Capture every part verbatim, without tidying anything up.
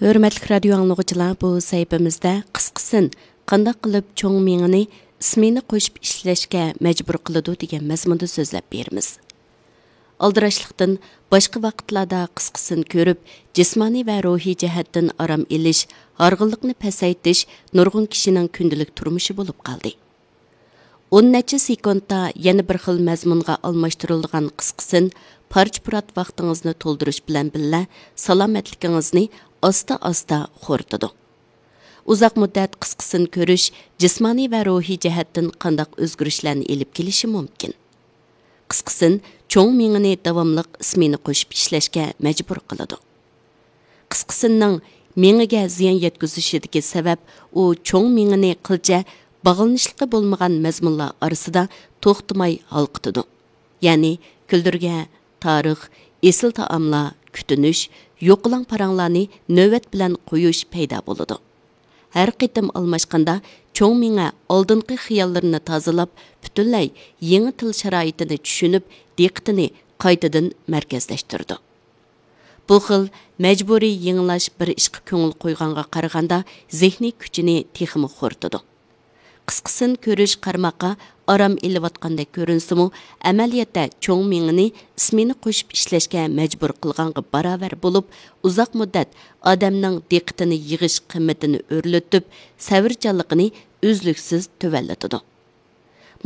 ھۆرمەتلىك رادىيو ئاڭلىغۇچىلار، بۇ سەھىپىمىزدە قىسقىسىن قانداق قىلىپ چوڭ مېڭىنى ئىسمېنا قوشۇپ ئىشلەشكە مەجبۇر قىلىدۇ دېگەن مەزمۇندا سۆزلەپ بېرىمىز. ئالدىراشلىقتىن باشقا ۋاقىتلاردا قىسقىسىن كۆرۈپ، جىسمانىي ۋە روھىي جەھەتتىن ئارام ئېلىش، ھارغىنلىقنى پەسەيتىش نۇرغۇن كىشىنىڭ كۈندىلىك تۇرمۇشى بولۇپ قالدى. ئون نەچچە سېكۇنتتا يەنە بىر خىل مەزمۇنغا ئالماشتۇرۇلىدىغان قىسقىسىن پارچە-پۇرات ۋاقتىڭىزنى تولدۇرۇش بىلەن بىللە، سالامەتلىكىڭىزنى ئاستا-ئاستا خورىتىدۇ. ئۇزاق مۇددەت قىسقىسىن كۆرۈش جىسمانىي ۋە روھىي جەھەتتىن قانداق ئۆزگىرىشلەرنى ئېلىپ كېلىشى مۇمكىن؟ قىسقىسىن چوڭ مېڭىنى داۋاملىق ئىسمېنا قوشۇپ ئىشلەشكە مەجبۇر قىلىدۇ. قىسقىسىننىڭ مېڭىگە زىيان يەتكۈزۈشىدىكى سەۋەب، ئۇ چوڭ مېڭىنى قىلچە باغلىنىشلىقى بولمىغان مەزمۇنلار ئارىسىدا توختىماي ھالقىتىدۇ. يەنى كۈلدۈرگە، تارىخ، ئېسىل تائاملار، كۈتۈنۈش، يوقىلاڭ پاراڭلارنى نۆۋەت بىلەن قويۇش پەيدا بولىدۇ. ھەر قېتىم ئالماشقاندا، چوڭ مېڭە ئالدىنقى خىياللىرىنى تازىلاپ، پۈتۈنلەي يېڭى تىل شارائىتىنى چۈشىنىپ، دىققىتىنى قايتىدىن مەركەزلەشتۈرىدۇ. بۇ خىل مەجبۇرىي يېڭىلاش بىر ئىشقا كۆڭۈل قويغانغا قارىغاندا، زېھنىي كۈچىنى تېخىمۇ خورىتىدۇ. قىسقىسىن كۆرۈش قارىماققا ئارام ئېلىۋاتقاندەك كۆرۈنسىمۇ، ئەمەلىيەتتە چوڭ مېڭىنى ئىسمېنا قوشۇپ ئىشلەشكە مەجبۇر قىلغانغا باراۋەر بولۇپ، ئۇزاق مۇددەت ئادەمنىڭ دىققىتىنى يىغىش قىممىتىنى ئۆرلىتىپ، سەۋرچانلىقىنى ئۈزلۈكسىز تۆۋەنلىتىدۇ.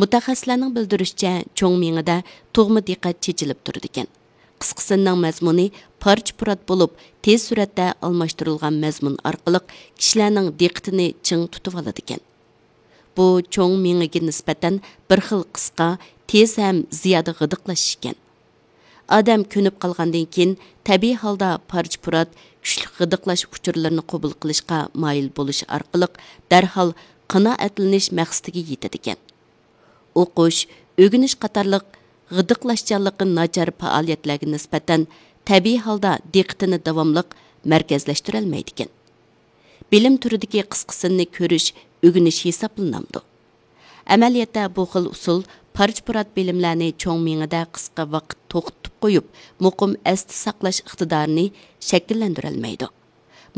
مۇتەخەسسىسلەرنىڭ بىلدۈرۈشىچە، چوڭ مېڭىدە تۇغما دىققەت چېچىلىپ تۇرىدىكەن. قىسقىسىننىڭ مەزمۇنى پارچە-پۇرات بولۇپ، تېز سۈرئەتتە ئالماشتۇرۇلغان مەزمۇن ئارقىلىق كىشىلەرنىڭ دىققىتىنى چىڭ تۇتۇۋالىدىكەن. بۇ چوڭ مېڭىگە نىسبەتەن بىر خىل قىسقا، تېز ھەم زىيادە غىدىقلاش ئىكەن. ئادەم كۆنۈپ قالغاندىن كېيىن، تەبىئىي ھالدا پارچە-پۇرات، كۈچلۈك غىدىقلاش ئۇچۇرلىرىنى قوبۇل قىلىشقا مايىل بولۇش ئارقىلىق دەرھال قانائەتلىنىش مەقسىتىگە يېتىدىكەن. ئوقۇش، ئۆگىنىش قاتارلىق غىدىقلاشچانلىقى ناچار پائالىيەتلەرگە نىسبەتەن تەبىئىي ھالدا دىققىتىنى داۋاملىق مەركەزلەشتۈرەلمەيدىكەن. بىلىم تۈرىدىكى قىسقىسىننى كۆرۈش ئۆگىنىش ھېسابلىنامدۇ؟ ئەمەلىيەتتە بۇ خىل ئۇسۇل پارچە-پۇرات بىلىملەرنى چوڭ مېڭىدە قىسقا ۋاقىت توختىتىپ قويۇپ، مۇقىم ئەستە ساقلاش ئىقتىدارىنى شەكىللەندۈرەلمەيدۇ.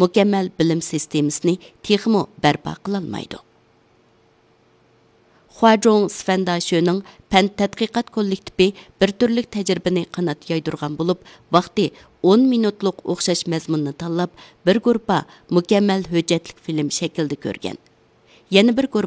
مۇكەممەل بىلىم سىستېمىسىنى تېخىمۇ بەرپا قىلالمايدۇ. خۇاجۇڭ سفەنداشۆنىڭ پەن تەتقىقات كوللېكتىپى بىر تۈرلۈك تەجرىبىنى قانات يايدۇرغان بولۇپ، ۋاقتى ئون مىنۇتلۇق ئوخشاش مەزمۇننى تاللاپ، بىر گۇرۇپپا مۇكەممەل ھۆججەتلىك فىلىم شەكلىدە كۆرگەن. يەنە بىر گۇرۇپپا